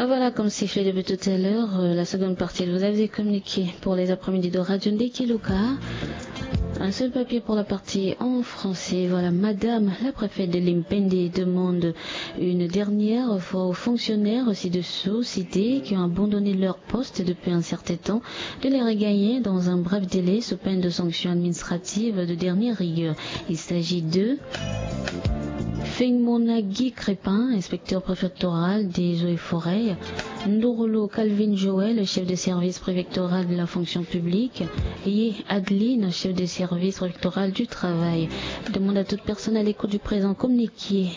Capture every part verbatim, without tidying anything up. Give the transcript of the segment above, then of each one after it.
Ah, voilà, comme sifflé depuis tout à l'heure, euh, la seconde partie de Vous avez communiqué pour les après-midi de Radio Ndeki Luka. Un seul papier pour la partie en français. Voilà, Madame la préfète de Limpende demande une dernière fois aux fonctionnaires ci-dessous cités qui ont abandonné leur poste depuis un certain temps de les regagner dans un bref délai sous peine de sanctions administratives de dernière rigueur. Il s'agit de Fengmonagi Crépin, inspecteur préfectoral des eaux et forêts. Ndorolo Calvin Joël, chef de service préfectoral de la fonction publique. Et Adeline, chef de service préfectoral du travail. Demande à toute personne à l'écoute du présent communiqué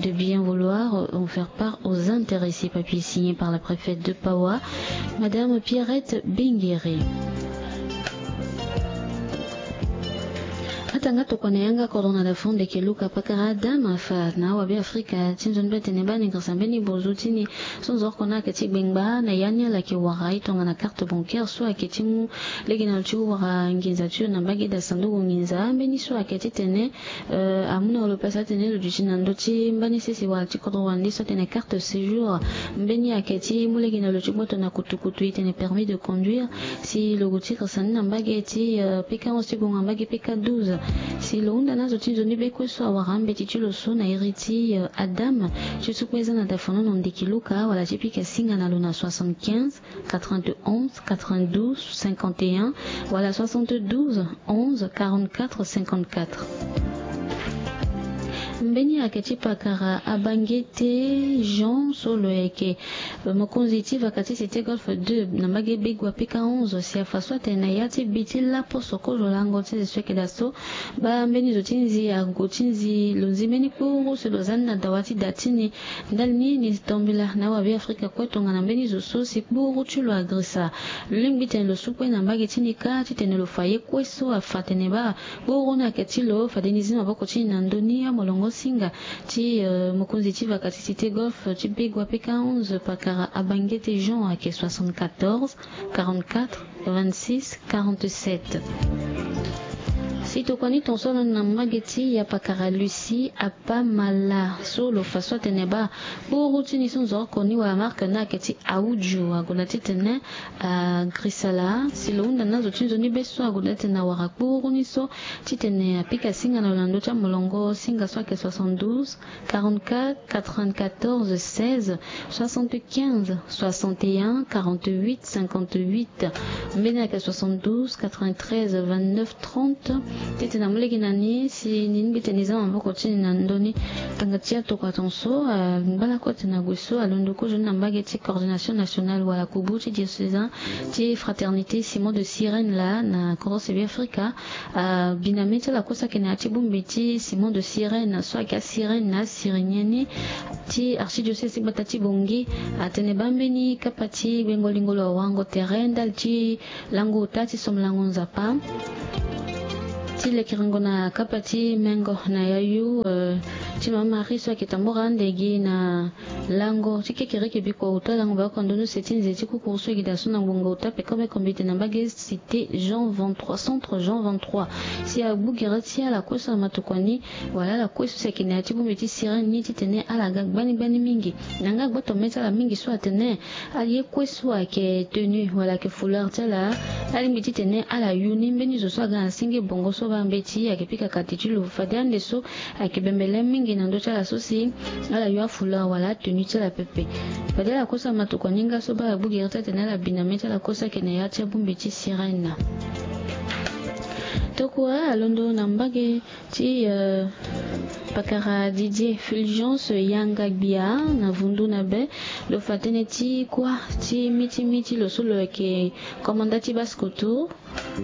de bien vouloir en faire part aux intéressés. Papier signé par la préfète de Pawa, Madame Pierrette Bingere. Atanga tokua na yanga kodro na dafo ndeke Luka pakara Adam afa na awa Be Afrika ti nzoni be atene ba ni grasa mbeni bozo ti ni so nzorko na ayeke ti gbengba na ya ni ala yeke wara e tongana carte bancaire so ayeke ti mu lege na lo ti wara nginza ti lo na mbage daa sanduku nginza mbeni so ayeke titene amu na lo place atene lo duti na ndö ti mbani sese wala ti kodro wande so atene carte séjour. Mbeni ayeke ti mu lege na lo ti gboto na kutukutu e tene permis de conduire. Si lo gue ti grasa ni na mbage ti pk onze ti gue na mbage pk douze. Si lo hunda na azo ti nzoni be kue so awara ambeti ti lo so na iri ti adam ti so kue eza na dafono na ndiki luka wala ti pika singa na lo na soixante-quinze quatre-vingt-onze quatre-vingt-douze cinquante et un wala soixante-douze onze quarante-quatre cinquante-quatre. Mbeni ayeke ti pakara abangete Jean so lo yeke mokonzi ti vaka ti cité golfe deux na mbage begua pika onze si afa so atene na ya ti bi ti lapo soko zo lango ti zi so yeke daa so. Baa mbeni zo ti nzi ago ti nzi lo nzi mbeni kpuru si lo za ni na dawa ti da ti ni. Ndali ni ni tombela na awabe afrika kue tongana mbeni zo so si kpuru ti lo agrisa. Lo lingbi tene lo su kue na mbage ti ni kâ titene lo fa ye kue so afa tene baa kpuru ni ayeke ti lo fade ni zi maboko ti ni na ndö ni amolongo singa ti mokonzi ti vaka ti cité golfe ti begua pika onze pakara abangete jean ayeke soixante-quatorze quarante-quatre vingt-six quarante-sept. Si tokua ni ton so aloni na mbage ti ya pakara lucie apamala so lo fa so atene baa kpuru ti ni so nzoroko ni wala marke ni ayeke ti audio ague na titene agrisala si lo hunda na azo ti nzoni be so ague na titene awara kpuru ni so titene apika singa na lo na ndö ti amolongo singa so ayeke soixante-douze quarante-quatre quatre-vingt-quatorze seize soixante-quinze soixante et un quarante-huit cinquante-huit. Mbeni ayeke soixante-douze quatre-vingt-treize vingt-neuf trente. Titene amu lege na ni si ni lingbi tene ni za maboko ti ni na ndö ni. Tanga ti atokua ton so mbala kue atene ague so alondo kozo ni na mbage ti coordination nationale wala kubu ti diocésain ti fraternité simon de sirène laa na kodro sebe afrika. Abiname ti ala kue so ayeke na ya ti bongbi ti simon de sirène so ayeke asirène na asirinian ni ti archidiocèse ti gbata ti bongi atene baa mbeni kapa ti gbengo lingo lo awarango tere ndali ti lango ota ti somolango nzapa ti lekerengo na kapa ti mengo na yayu ti mama marie so ayeke tambora ande gi na lango ti kekereke bikua ota lango baoko na ndö ni use ti nze ti kukuru so ayeke daa so na ngbonga ota peko be kombite na mbage cité jean vingt-trois centre jean vingt-trois. Si agbu gere ti ala kue so amatokua ni wala ala kue so si ayeke na ya ti bongbi ti sirène ni titene ala ga gbani gbani mingi. Na nga gboto me ti ala mingi so atene aye kue so ayeke tenue wala ayeke fouleur ti ala. Alingbi titene ala yu ni mbeni zo so aga na senge bongo so baa mbeti ayeke pika kati ti lo fade ande so ayeke bembele mingi na ndö ti ala so si ala yu afouleur wala atenue ti ala pepe. Fade ala kue so amatokua ni nga so baa agbu gere ti atene ala bi na me ti ala kue so ayeke na ya ti abongbi ti sirène. Tokua alondo na mbage ti pakara didier fulgence yanga gbia na vundu na be lo fa tënë ti kuâ ti miti miti lo so lo yeke komanda ti basse koto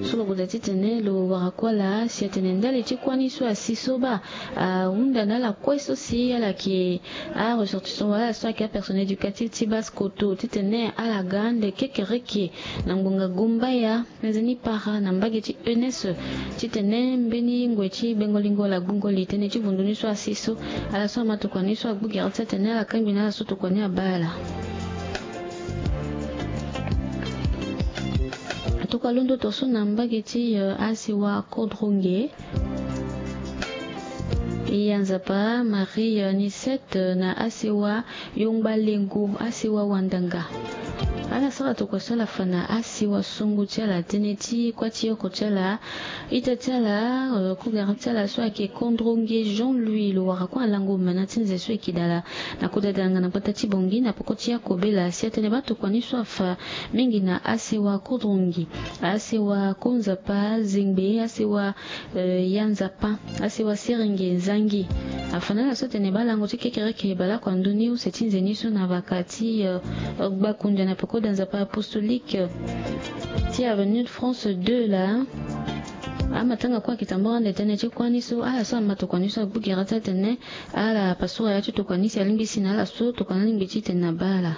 so lo goda titene lo wara kuâ laa si atene ndali ti kuâ ni so asi so baa ahunda na ala kue so si ala yeke aressortissant wala ala so ayeke apersonnel éducatif ti basse koto titene ala ga ande kekereke na ngbonga gumbaya. Nzeni para na mbage ti enes titene mbeni ngoi ti gbengo lingo wala gbungo li tënë ti vundu ni so asi so. Ala so amatokua ni so agbu gere ti atene ala kangbi na ala so tokua ni abaa ala. Atokua londo to so na mbage ti asiwa kodro nge. Iya Nzapa, Marie Nicette na asewa Yongbalengo, asewa Wandanga. Ala sara tokua so ala fa na asewa songo ti ala tënë ti kuâ ti oko ti ala, ita ti ala, euh, kugara ti ala so ayeke Kondronge Jean-Louis, lo wara kue na lango mana ti nze so eke dala na kota danga na gbata ti Bangui na peko ti Akobela. Si atene baa tokua ni so afa mingi na asewa Kondronge, asewa Konzapa Zengbe, asewa euh, Ya Nzapa, asewa Serenge Nzangi. Afa na ala so atene baa lango ti kekereke baleoko na ndö ni use ti nze ni so na vaka ti, euh, Gbakundia na peko da Nzapa apostolique, euh, ti Avenue de France deux laa. Amatanga kue ayeke tambula ande tënë ti kuâ ni so, ala so ama tokua ni so agbu gere ti atene ala pasura ya ti tokua ni si alingbi si na ala so tokua ni alingbi titene abaa ala.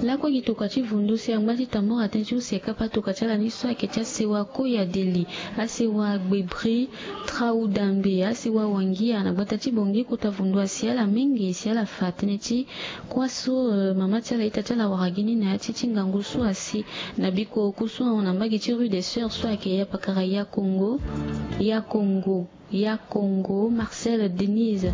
Lakue gi tokua ti vundu si angba ti tambula tënë ti use kapa tokua ti ala ni so ayeke ti asewa Koyadeli, asewa Gbebri, Traudambe, asewa Wangia na gbata ti Bangui. Kota vundu asi ala mingi si ala fa tënë ti kuâ so, euh, mama ti ala, ita ti ala wara gi ni na ya ti ti ngangu so asi na biko oku so ahon na mbage ti rue des Sœurs so ayeke ya pakara Ya Kongo, Ya Kongo, Ya Kongo, Marcel Denise.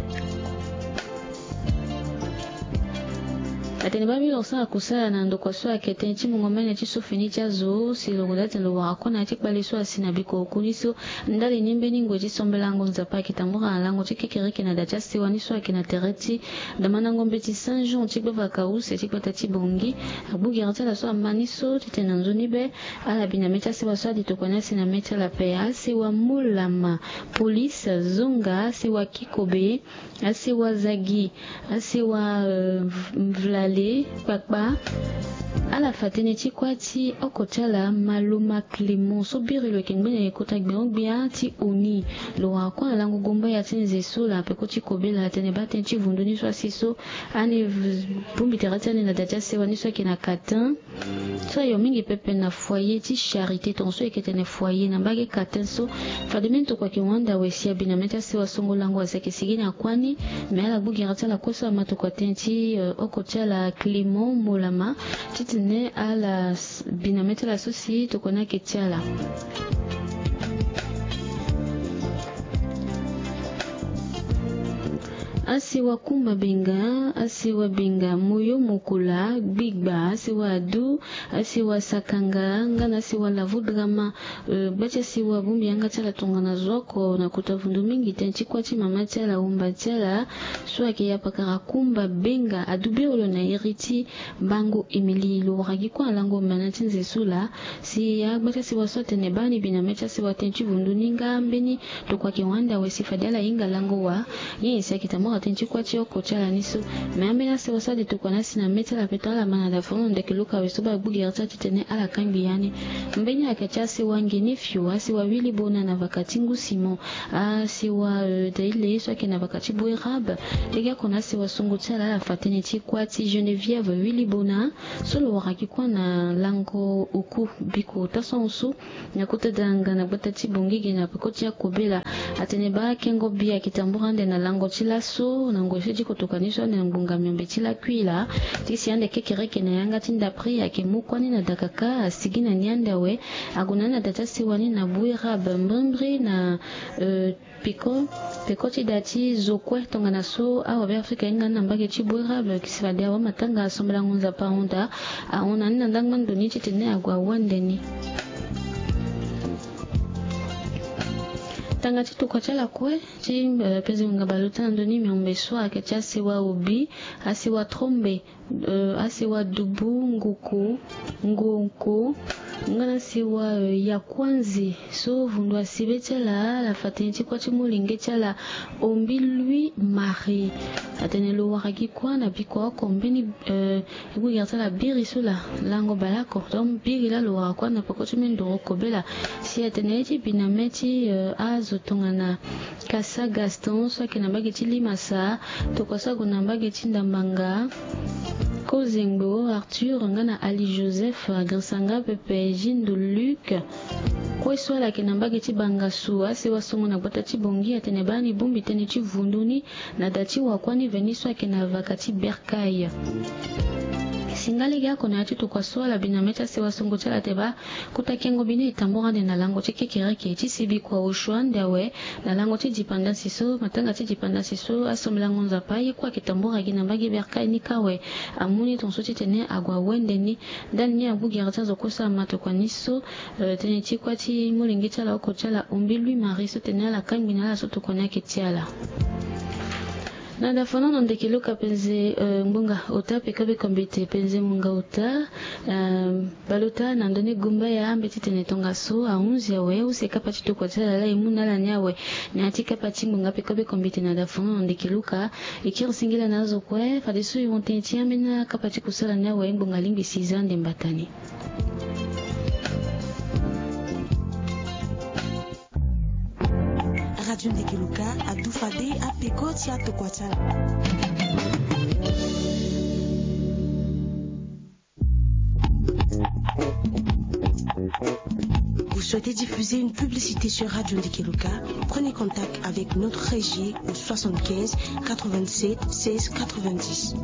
Atene baa mbi lo sara kusala na ndokua so ayeke tënë ti mungo mene ti so fini ti azo si lo gue daa atene lo wara kue na ya ti kpale so asi na biko oku ni so. Ndali ni mbeni ngoi ti sambelango Nzapa ayeke tambula na lango ti kekereke na da ti asewa ni so ayeke na tere ti damandango mbeti Saint Jean ti gbavaka use ti gbata ti Bangui. Agbu gere ti ala so ama ni so titene na nzoni be ala bi na mê ti asewa so adi tokua ni asi na mê ti ala ape. Asewa Molama, Police, Zonga, asewa Kikobe, asewa Zagi, asewa, euh, Mv-, Mvlale, Kpakpa. Ala fa tënë ti kuâ ti oko ti ala Maloma Clément so biri lo yeke ngbene kota gbengbe-gbia ti Oni. Lo wara kue na lango gomba ya ti nze so laa peko ti Kobela. Atene baa tënë ti vundu ni so asi so ani v-, bongbi tere ti ani na da ti asewa ni so ayeke na Katin. So ayo mingi pepe na foyer ti Charité, tongaso e yeke tene foyer na mbage Katin so. Fade mbeni tokua ayeke hunda awe si abi na mê ti asewa songo lango asi ayeke sigi na kuâ ni. Me ala gbu gere ti ala kue so ama tokua tënë ti, euh, oko ti ala Clément Molama titene ala s-, bi na mê ti ala so si tokua ni ayeke ti ala. Asewa Kumba Benga, asewa Benga, Moyo Mokola, Gbigba, asewa Adu, asewa Sakanga, nga na asewa Lavo Drama, euh, gba ti asewa bongbi yanga ti ala tongana zo oko na kota vundu mingi tënë ti kuâ ti mama ti ala, wumba ti ala, so ayeke ya pakara Kumba Benga, adu biri lo na iri ti Mbango Émilie. Lo wara gi kue na lango mana ti nze so laa. Si agba ti asewa so atene baa ni bi na mê ti asewa tënë ti vundu ni nga mbeni tokua ayeke hunda awe si fade ala hinga lango wa. Nyen si ayeke tambula tënë ti kuâ ti oko ti ala ni so. Me ambeni asewa so adi tokua ni asi na mê ti ala ape to ala ma na da foro na ndeke luka awe so baa agbu gere ti ala titene ala kangbi ya ni. Mbeni ayeke ti asewa Ngenefio, asewa Wilibona na vaka ti Ngu Simon, asewa, euh, Daile so ayeke na vaka ti Boerabe. Lege oko na asewa songo ti ala ala fa tënë ti kuâ ti Geneviève Wilibona so lo wara gi kue na lango oku biko tasango so na kota danga na gbata ti Bangui ge na peko ti Akobela. Atene baa kengo bi ayeke tambula ande na lango ti laso na ngoi so e ti kotoka ni so ande na ngbonga miombe ti lakui laa. Ti si ande kekereke na yanga ti ndapre ayeke mu kuâ ni na dakaka, asigi na ni ande awe. Ague na ni na da ti asewa ni na Boerabe, mbrimbri na, euh, Peko, peko ti da ti zo kue tongana so awabe Afrika ahinga ni na mbage ti Boerabe, si fade awamatanga asambela ngu Nzapa ahunda, ahon na ni na ndangba ndo ni titene ague awande ni. Tanga ti tokua ti ala kue ti, eh, peze wenga baleota na ndö ni miombe so ayeke ti asewa Obi, asewa Trombe, eh, asewa Dubu, Nguku, Ngonko, nga na asewa, eh, Yakuanzi. So vundu asi be ti ala, ala fa tënë ti kuâ ti molenge ti ala, Ombi Louis Marie. Atene lo wara gi kuâ na bikua oko mbeni, eh, e gbu gere ti ala biri so laa, lango baleoko. Donc biri laa lo wara kuâ na peko ti mbi ndoro kobela. Si atene ye ti bi na mê ti, eh, azo tongana Kasa Gaston so ayeke na mbage ti Limasa, tokua so ague na mbage ti Ndambanga, Kozengbo Arthur nga na Ali Joseph, Grisanga Pepe, Jindo Luc. Kue so ala yeke na mbage ti Bangassou, asewa songo na gbata ti Bangui, atene baa ni bongbi tënë ti vundu ni na da ti wakuâ ni veni so ayeke na vaka ti Bercail. Ngale gi ako na ya ti tokua so ala bi na mê ti asewa songo ti ala te baa, kota kengo bi ni e tambura ande na lango ti kekereke ti sibi kua osio ande awe. Na lango ti dipandasi so matanga ti dipandasi so asambelango nzapa ye kue ayeke tambura gi na mbage berkay ni kue awe. Amu ni tongaso titene ague awende ni. Ndani ni agu gere ti azo kue so ama tokua ni so, tënë ti kue ti molenge ti ala oko ti ala ombi lui marie so tene ala kangbi na ala so tokua ni ayeke ti ala. Na da fana na ndeke luka penze ngbonga ota peko be kombite penze munga ota. Baleota na ndoni gumbaya ambeti tene tongaso ahunzi awe use kapa ti tokua ti ala la e mu na ala ni awe. Na ya ti kapa ti ngbonga peko be kombite na da fana na ndeke luka. E kiri singila na azo kue fadeso e hon tënë ti ambeni akapa ti kusala ni awe ngbonga lingbi si za nde mbata ni. Radio Ndekeluka adu fade apeko ti atokua ti ala. Vous souhaitez diffuser une publicité sur Radio Ndekeluka? Prenez contact avec notre régie au soixante-quinze quatre-vingt-sept seize quatre-vingt-dix.